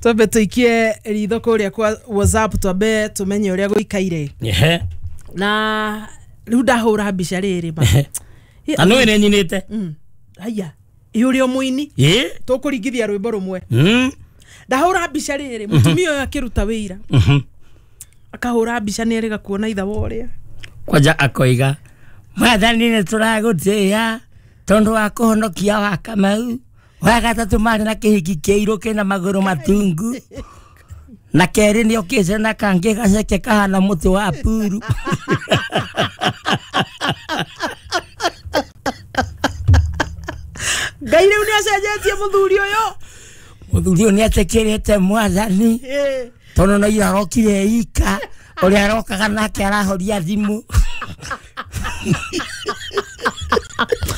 Twambe tuikie ritho kuria kwa WhatsApp, twambe tumenye uria guikaire. Ehe. Na riu ndahura mbica riri ma. Na nä nä nyinä. Haya, ä å muini Ä. tũkũringithia rwĩmbo rũmwe. Ndahũra mbica rĩrĩ, mũtumia ũyũ akĩruta wĩira, akahũra mbica nĩ erĩga kuona itha wa ũrĩa. Kwanja akoiga, mwathani nä tå ragå tä a tondå wa kå honokia wa Kamau wa gatatå marä na kä hiki kä irå kä na magå rå matungu, na kerä nä okä te na kangä gaceke kahana må tä wa puru. Ngai rĩu nĩ acenjetie mũthuri ũyũ. Må thuri å yå nä atä kä rä te mwathani tondå no ira arokire ika å rä a arokaga nake arahoria thimå.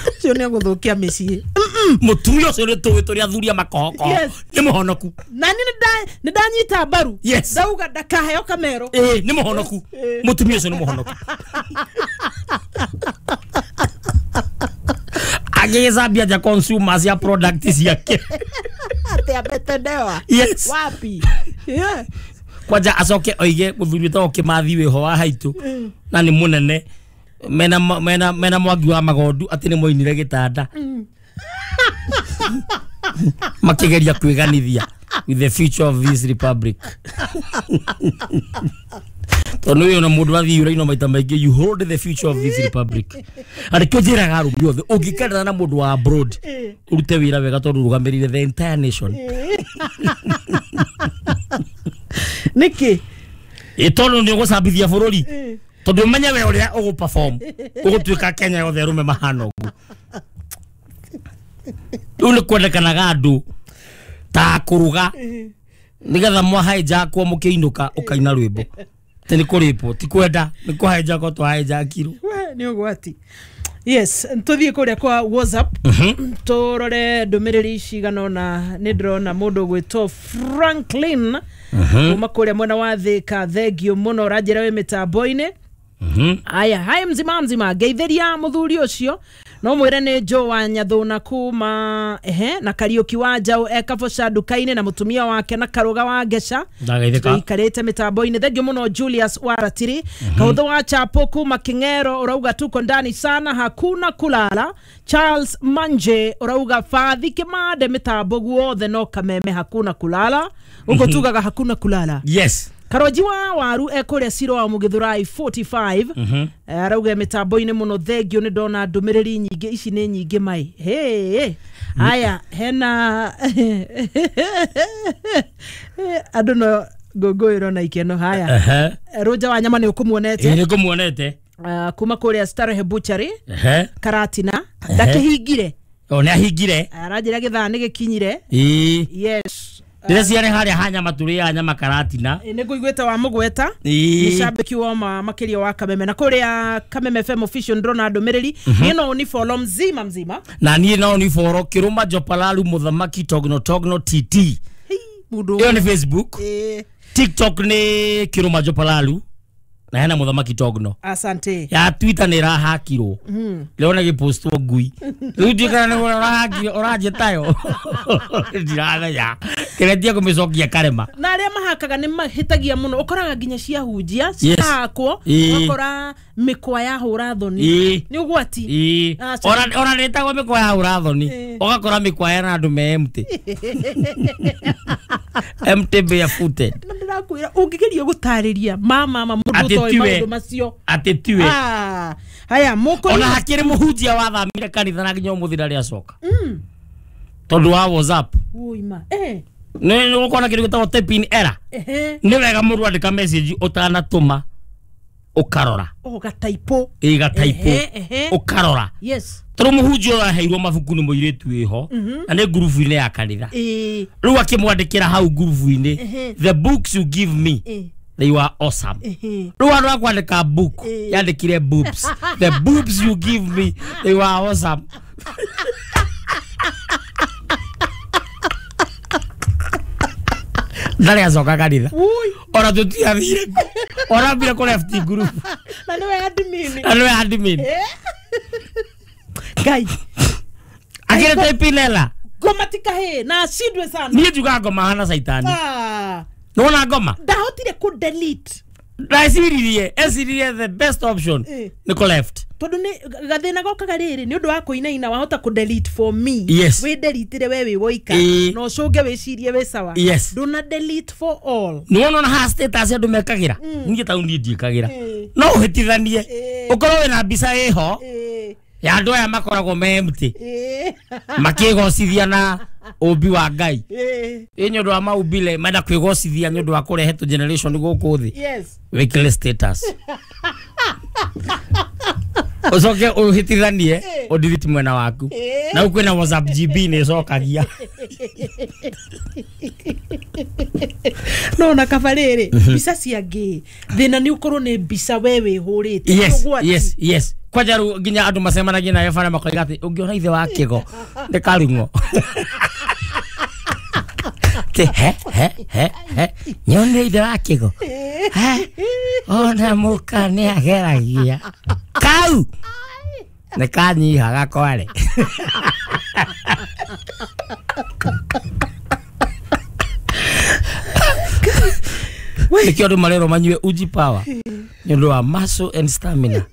Ũcio nĩ egũthũkia mĩciĩ. Mũtumia ũcio nĩ tũĩ tũrĩ athuri a makohokoho. Nĩ mũhonoku. Na niĩ nĩ ndanyita mbaru. Ndauga ndakaheo kamero. Ĩĩ, nĩ mũhonoku. Mũtumia ũcio nĩ mũhonoku, agĩgĩcambia nja consumers ya product ciake. Atĩ ametendewa. Wapi? Yeah. Kwanja acoke oige mũthuri wĩtagwo Kĩmathi wĩho wa haitũ na nĩ mũnene mena mena mena mwangi wa magondu atĩ nĩ moinire gĩtanda makĩgeria kwĩganithia with the future of this republic, tondũ ũyũ na mũndũ athiĩ uraino maita maingĩ, you hold the future of this republic. Arĩkĩo njĩraga arũme othe, ũngĩkendana na mũndũ wa abroad, ũrute wĩra wega tondũ ũrũgamĩrĩire the entire nation. Nĩkĩ? Ĩ tondũ nĩ ũgũcambithia bũrũri, tondũ ũmenye we ũrĩa ũgũ perform ũgũtuĩka Kenya yothe arũme mahana ũguo. Rĩu nĩ kwendekanaga andũ ta kũruga nĩgetha mwahaĩnjakwo mũkĩinũka ũkaina rwĩmbo atĩ nĩ kũrĩpwo, ti kwenda nĩ kũhaĩnjakwo twahaĩnjakirwo. We, nĩ ũgwati. Yes, tũthiĩ kũrĩa kwa WhatsApp tũrore ndũmĩrĩri cigana ũna. Nĩ ndĩrona mũndũ ũgwĩtwo Franklin kuma kũrĩa mwena wa Thĩka, thengio mũno, ũranjĩra wĩ mĩtambo-inĩ. Aya, hai mzima mzima, ngeithĩria mũthuri ũcio no mwĩre nĩ Joe wa Nyathũna kuma ehe na Kariũki wa Njaũ e Kaboca nduka-inĩ na mũtumia wake na Karũga wa Ngeca. Ndagaithĩka. Ikarĩte mĩtambo-inĩ, thengio mũno. Julius wa Ratiri, Kaũthũ wa Chapo kuma King'ero ũrauga tuko ndani sana, hakuna kulala. Charles Manje ũrauga Fathi Kĩmande mĩtambo guothe no Kameme hakuna kulala, ũguo tugaga hakuna kulala. Karoji wa waru ekũrĩa Ciro wa Mũgĩthũrai 45. Arauga mĩtambo-inĩ mũno, thengio. Nĩ ndona ndũmĩrĩri nyingĩ, ici nĩ nyingĩ mai. Hey, haya, hena andũ no ngũngũĩro na ikeno. Haya. Rũnja wa nyama nĩ ũkũmuonete. Ĩ, nĩ ngũmuonete. Kuma kũrĩa Starehe Butchery Karatina ndakĩhingire. O nĩ ahingire. Aranjĩra gĩthaa nĩ gĩkinyire. Yes. Ndĩreciarĩ harĩa ha nyama tũrĩaga nyama Karatina. Nĩ ngũiguĩte wa mũgweta. Nĩ cambĩki wa ma makĩria wa Kameme na kũrĩa Kameme FM official ndĩrona ndũmĩrĩri. Niĩ no ni follow mzima mzima. Na niĩ no ni follow Kĩrũma Jopalaru Mũthamaki Togno Togno TT. Hei, mũndũ. Ĩyo nĩ Facebook. TikTok nĩ Kĩrũma Jopalaru na hena Mũthamaki Togno. Asante. Ya Twitter nĩ ĩrahakirwo leo nĩ gĩpostwo ngui rĩu ndiũ kana nĩ ũrahakire ũranjĩtayo, ndiramenya kĩretia kũmĩcokia karema. Na arĩa mahakaga nĩ mahĩtagia mũno, ũkoraga nginya ciahunjia cihakwo, ũgakora mĩkwa yahũra thoni. Nĩ ũgwati. Aca. Ona nĩtagwo mĩkwa ya ũrathoni. Ũgakora mĩkwa ena andũ me empty, empty barefooted. Na ndĩrakwĩra ũngĩgeria gũtarĩria mama mũndũ Atĩ ũtoĩ tiwe. maũndũ macio. Atĩ tiwe. Ah, haya mũkũri. Ona hakĩrĩ mũhunjia wathamire kanitha na nginya ũmũthĩ ndarĩ acoka tondũ wa WhatsApp. Ũima nĩ gũkorwo na kĩndũ gĩtagwo typing error. Nĩ wega mũndũ andĩka message ũtanatũma ũkarora. Ũgataipo. Ĩgataipo. Ehe, ehe. Ũkarora. Tondũ mũhunjia ũyũ aheirwo mabuku nĩ mũirĩtu wĩho na nĩ ngurubu-inĩ ya kanitha. Rĩu akĩmwandĩkĩra hau ngurubu-inĩ, "The books you give me, they were awesome." Rĩu andũ a kwandĩka book yandĩkire boobs, "The boobs you give me, they were awesome." Ndarĩ acoka kanitha. Ui. Ona tũtiathire, ona ambire kũ left group. Na nĩwe admin. Na nĩwe admin. Ngai. Akĩrĩ typing error. Ngoma ti kahĩ na acindwe sana. Niĩ njugaga ngoma hana caitani. Nĩwona ngoma? Ndahotire kũ delete. Ndeciririe, eciririe the best option nĩ kũ left. Tondu nĩ gathĩna gokaga rĩrĩ nĩ ũndũ wa kũinaina wahota kũ delete for me. Yes. Wĩ deletire we wĩ woika. Na ũcũnge wĩcirie wĩ sawa. Yes. Ndũna delete for all. Nĩwona ona haha status andũ mekagĩra. Niĩ ta niĩ ndiĩkagĩra. No ũhĩtithanie. Ũkorwo wĩna mbica ĩho ya andũ aya makoragwo me empty. Makĩgocithia na ũmbi wa Ngai. Ĩ nĩ ũndũ wa maumbile menda kwĩgocithia nĩ ũndũ wa kũrehe tũ generation gũkũ thĩ. Yes. Wĩkĩre status. Ũcoke ũhĩtithanie ũndiriti mwena waku. Na rĩu kwĩna WhatsApp GB nĩ ĩcokagia. No na kaba rĩrĩ mbica cia ngĩ thĩna nĩ ũkorwo nĩ mbica we wĩhũrĩte. Yes, yes, yes. Kwanja rĩu nginya andũ macemanagia nawe bara makoiga atĩ ũngĩona ithe wa kĩgo nĩ karung'o. Te he he he he nyone ithe wa kĩgo. He ona mũka nĩ ageragia. Kau nĩ kanyihaga kware. Nĩkĩo andũ marerwo manyue uji power nĩ ũndũ wa muscle and stamina.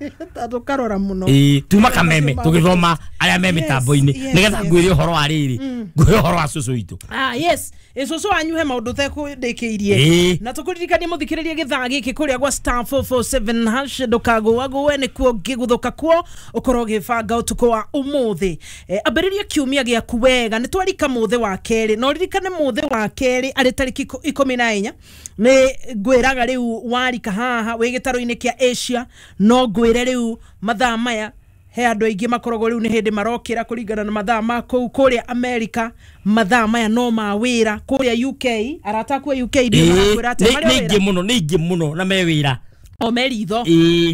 Tũkarora mũno. Tuma kameme tũgĩthoma arĩa me mĩtambo-inĩ nĩgetha ngwĩre ũhoro wa rĩrĩ ngwĩre ũhoro wa cũcũ witũ. Yes, cũcũ wanyu he maũndũ tekũndĩkĩirie. Na tũkũririkanie mũthikĩrĩrie gĩthaa gĩkĩ kũrĩa gwa star 447 hash ndũkagũagũe nĩkuo ngĩguthũka kuo ũkorwo ũgĩbanga ũtukũ wa ũmũthĩ. Ambĩrĩria kiumia gĩaku wega nĩ twarika mũthĩ wa kerĩ na ũririkane mũthĩ wa kerĩ arĩ tarĩki 14 nĩ ngwĩraga rĩu warika haha wĩ gĩtarũ-inĩ kĩa Asia no ngwĩre rĩu mathaa maya he andũ aingĩ makoragwo rĩu nĩ hĩndĩ marokĩra kũringana na mathaa ma kũu kũrĩa America mathaa maya no ma wĩra kũrĩa UK arata aku a UK nĩ atĩ nĩ aingĩ mũno nĩ aingĩ mũno na me wĩra o me ritho.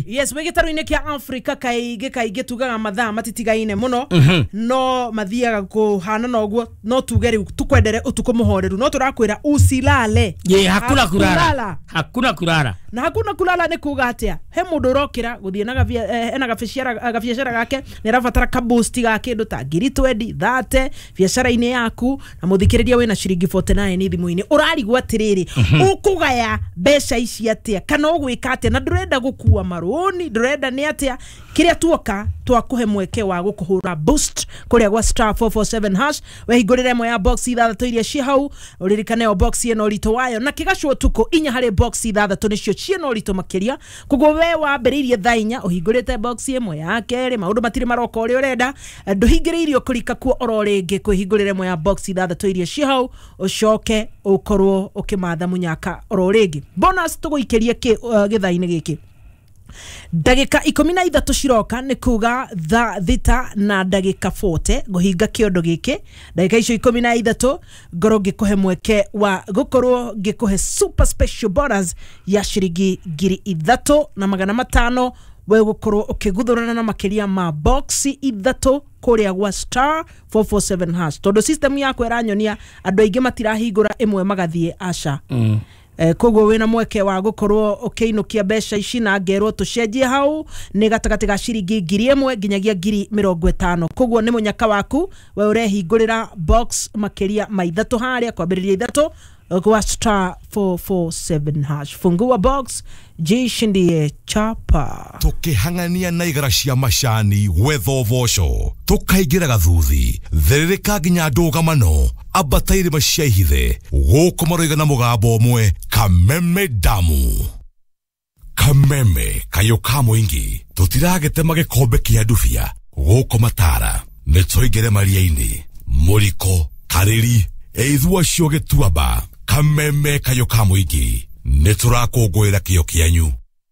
Yes, wĩ gĩtarũ-inĩ kĩa Africa kaingĩ kaingĩ tugaga mathaa matitigaine mũno no mathiaga kũhana na ũguo no tuge rĩu tũkwendere ũtukũ mũhoreru no tũrakwĩra usilale. Hakuna kulala. Hakuna kulala. Na hakuna kulala nĩ kuga atĩa he mũndũ ũrokĩra gũthiĩ na ena gabiacara gake nĩ arabatara ka boost ga kĩndũ ta ngiri 20 30 biacara-inĩ yaku na mũthikĩrĩria wĩna ciringi 49 thimũ-inĩ ũrarigwo atĩrĩrĩ ũkũgaya mbeca ici atĩa kana ũgwĩka atĩa na ndũrenda gũkua marũni ndũrenda nĩ atĩa kĩrĩa tuoka twakũhe mweke wa gũkũhũra boost kũrĩa gwa star 447 hash wehingũrĩre ĩmwe ya box ithathatũ iria ciĩ hau ũririkane o box ĩno ũritũ wayo na kĩgacwo ũtukũ inya harĩ box ithathatũ nĩcio ciĩna ũritũ makĩria koguo we wambĩrĩirie thaa inya ũhingũrĩte box ĩmwe ya kerĩ maũndũ matirĩ maroka ũrĩa ũrenda ndũhingĩrĩirio kũrika kuo oro rĩngĩ kwĩhingũrĩre ĩmwe ya box ithathatũ iria ciĩ hau ũcoke ũkorwo ũkĩmatha mũnyaka oro rĩngĩ. Bonus tũgũikĩrie gĩthaa-inĩ gĩkĩ ndagĩka 13 ciroka nĩ kuga thaa thita na ndagĩka 40 ngũhinga kĩondo gĩkĩ ndagĩka icio 13 ngorwo ngĩkũhe mweke wa gũkorwo ngĩkũhe super special bonus ya ciringi 3500 we gũkorwo ũkĩguthũrana na makĩria ma box ithatũ kũrĩa gwa star 447 hash tondũ system yakwa ĩranyonia andũ aingĩ matirahingũra ĩmwe magathiĩ aca. Koguo wĩna mweke wa gũkorwo ũkĩinũkia mbeca ici na ngerwo tũcenjie hau nĩ gatagatĩ ga ciringi 1000 nginyagia 50,000 koguo nĩ mũnyaka waku we ũrehingũrĩra box makĩria ma ithatũ harĩa kwambĩrĩria ithatũ gwa star 447 hash fungua box jishindie chapa. Tukihang'ania na igara cia macani gwetha ũboco tukaingĩra gathuthi therereka nginya ndũgamano ambata irĩma cia ihithe gũkũ maroiga na mũgambo ũmwe Kameme damu. Kameme kayũ ka mũingĩ tũtiragetema gĩkombe kĩa ndubia gũkũ matara nĩ tũingĩre maria-inĩ mũriko karĩri ĩithua cio gĩtuamba. Kameme kayũ ka mũingĩ nĩ tũrakũngũĩra kĩo kĩanyu.